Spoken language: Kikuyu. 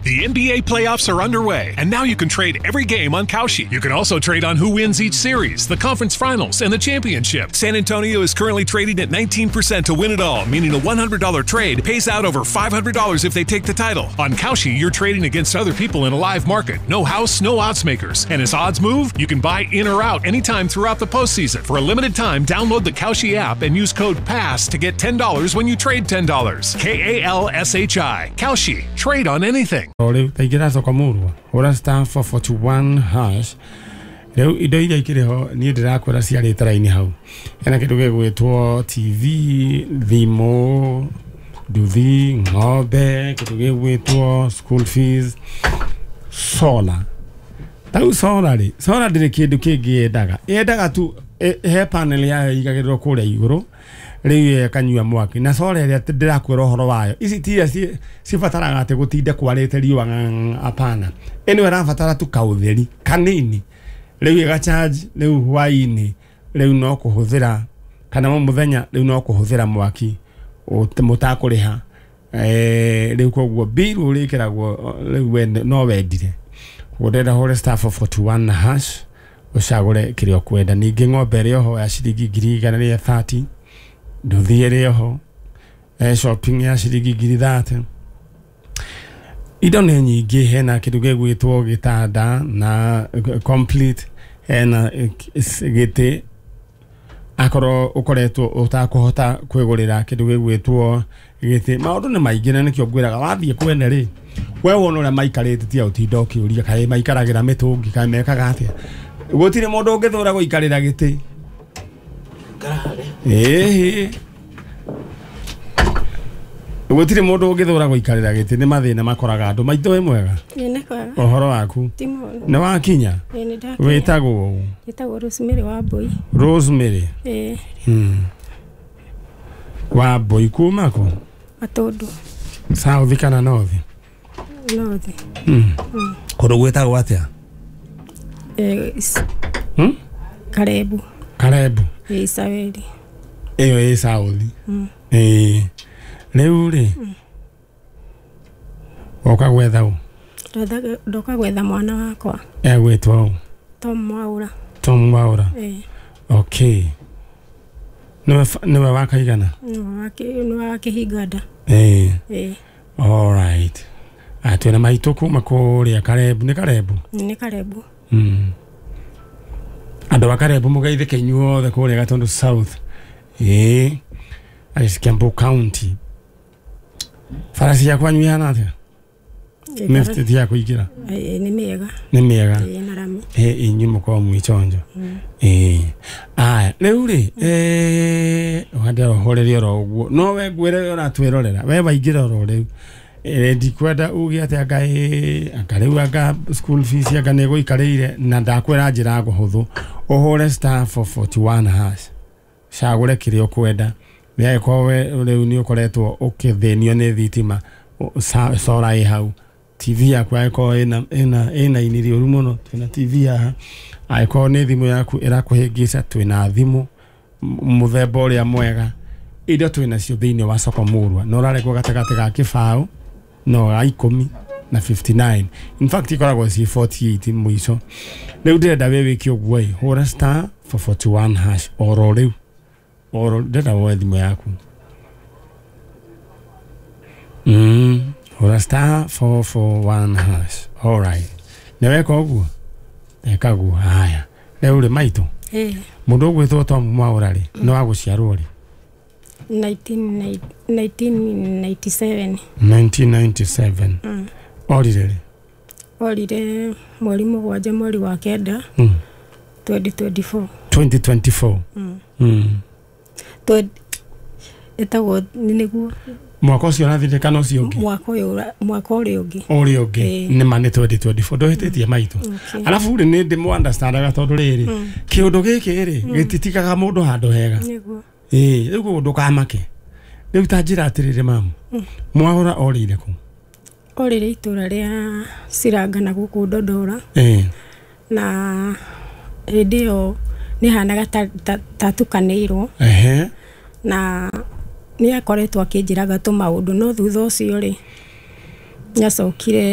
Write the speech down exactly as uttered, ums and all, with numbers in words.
The N B A playoffs are underway, and now you can trade every game on Kalshi. You can also trade on who wins each series, the conference finals, and the championship. San Antonio is currently trading at nineteen percent to win it all, meaning a one hundred dollar trade pays out over five hundred dollars if they take the title. On Kalshi, you're trading against other people in a live market. No house, no odds makers. And as odds move, you can buy in or out anytime throughout the postseason. For a limited time, download the Kalshi app and use code PASS to get ten dollars when you trade ten dollars. K A L S H I. Kalshi. Trade on anything. Rĩu taingĩra soko murwa hũra star four forty-one hash. Rĩu indo iria ikĩrĩ ho niĩ ndĩrakwĩra ciarĩte raini hau. Hena kĩndũ gĩgwĩtwo T V, thimũ, nduthi, ng'ombe, kĩndũ gĩgwĩtwo school fees, solar. Ta rĩu solar rĩ, solar ndĩrĩ kĩndũ kĩngĩ yendaga. Yendaga tu he panel yayo ĩigagĩrĩrwo kũrĩa igũrũ, rĩu ĩkanyua mwaki. Na solar ĩrĩa ndĩrakwĩra ũhoro wayo, ici ti iria cibataraga atĩ gũtinde kwarĩte riũa, hapana. Ĩno ĩrabatara tu kaũtheri kanini, rĩu ĩgacharge rĩu hwaĩ-inĩ, rĩu no kũhũthĩra kana mũthenya, rĩu no kũhũthĩra mwaki mũtakũrĩha. Rĩu koguo bill ũrĩkĩragwo rĩu we no wendire. Koguo ndĩrenda hũre star four forty-one hash ũcagũre kĩrĩa ũkwenda. Ningĩ ng'ombe ĩrĩ oho ya ciringi ngiri igana rĩa thirty, nduthi ĩrĩ oho, shopping ya ciringi ngiri thirty. Indo nĩ nyingĩ, hena kĩndũ gĩgwĩtwo gĩtanda na complete, hena gĩtĩ akorwo ũkoretwo ũtakũhota kwĩgũrĩra kĩndũ gĩgwĩtwo gĩtĩ. Maũndũ nĩ maingĩ na nĩkĩo ngwĩraga wathiĩ kwene rĩ, we wona ũrĩa maikarĩte tiga ũtinda ũkĩũria kaĩ maikaragĩra mĩtũngi kaĩ mekaga atĩa. Gũtirĩ mũndũ ũngĩthũra gũikarĩra gĩtĩ. Ĩĩ, gũtirĩ mũndũ ũngĩthũra gũikarĩra gĩtĩ, nĩ mathĩna makoraga andũ. Maitũ wĩ mwega? Nĩ kwega. Ũhoro waku? Ti mũru. Nĩ wakinya? Ĩĩ, nĩ ndakinya. Wĩtagwo ũ? Njĩtagwo Rosemary Wambui. Rosemary? Ĩĩ. Mm. Wambui kuma kũ? Matũndũ. South kana North? North. Mm. Kũndũ gwĩtagwo atĩa? Eh, Hmm? Karebu. Karebu. Ĩĩ, Isaweri. Ĩyo ĩ South. Mm. Ĩĩ. Rĩu rĩ, woka gwetha ũ? Ndoka gwetha mwana wakwa. Egwĩtwo ũ? Tom Mwaura. Tom Mwaura. Ĩĩ. Okay. Nĩwe nĩwe wa kaigana? Nĩwe wa kĩhinga nda. Ĩĩ. Ĩĩ. All right. Twĩna maitũ kuma kũrĩa Karebu, nĩ Karebu? Nĩ Karebu. Mm. Andũ a Karebu mũgeithĩke inyuothe kũrĩa Gatundu South. Ĩĩ. Kiambu County. Bara cia kwanyu ihana atĩa? Mĩtĩ ya kũingĩra? Ĩĩ, nĩ mĩega. Nĩ mĩega? Ĩĩ, na rami. Ĩĩ, inyuĩ mũkoragwo mwĩ chonjo. Ĩĩ. Aya, rĩu rĩ, eh, ũhande ũhorerie oro ũguo. No we ngwĩre we ũratwĩrorera, we waingĩra oro rĩu. Ĩĩ, ndikwenda uge atĩ anga ĩĩ, anga rĩu anga school fees anga nĩ ĩgũikarĩire, na ndakwĩra njĩra hũthũ. Ũhũre star four forty-one hash. Cagũre kĩrĩa ũkwenda. Nĩangĩkorwo we rĩu nĩ ũkoretwo ũkĩthĩnio nĩ thitima, solar ĩ hau. T V yaku angĩkorwo ĩna ĩna ĩna ini rĩũru mũno, twĩna T V haha. Angĩkorwo nĩ thimũ yaku ĩrakũhĩngĩca, twĩna thimũ mũthemba ũrĩa mwega. Indo twĩnacio thĩinĩ wa soko murwa. Na ũrarekwo gatagatĩ ga kĩbaũ no ga ikũmi na fifty-nine. In fact ikoragwo ciĩ forty-eight mũico. Rĩu ndĩrenda we wĩke ũguo ĩ, hũra star four forty-one hash oro rĩu. Oro ndĩrenda woe thimũ yaku. Mm. Hũra star four four one hash. All right. Nĩ weka ũguo? Eka guo. Haya. Rĩu rĩ maitũ. Ĩĩ. Mũndũ ũgwĩtwo Tom Mwaura rĩ, nĩ wa gũciarwo rĩ? nineteen ninety-seven. nineteen ninety-seven. Mm. Orire rĩ? Orire mweri mũgwanja mweri wa kenda. Mm. twenty twenty-four. twenty twenty-four. Mm. Mm. Ĩtagwo nĩguo mwaka ũcio ũrathirire kana ũcio ũngĩ? Mwaka ũyũ, mwaka ũrĩa ũngĩ. Ũrĩa ũngĩ. Nĩ ma nĩ twenty twenty-four. Ndũhĩtĩtie maitũ. Alafu rĩ nĩ ndĩmũ understandaga tondũ rĩrĩ, kĩũndũ gĩkĩ rĩ gĩtitigaga mũndũ handũ hega. Nĩguo. Ĩĩ, rĩu koguo ndũkamake. Rĩu ta njĩra atĩrĩrĩ mamu, Mwaura orĩire kũ? Orĩire itũra rĩa Ciranga na gũkũ Ndondora. Ĩĩ. Na hĩndĩ ĩyo nĩ hanaga ta tatukanĩirwo. Ehe. Na nĩ akoretwo akĩnjĩraga tũmaũndũ no thutha ũcio rĩ nĩacokire.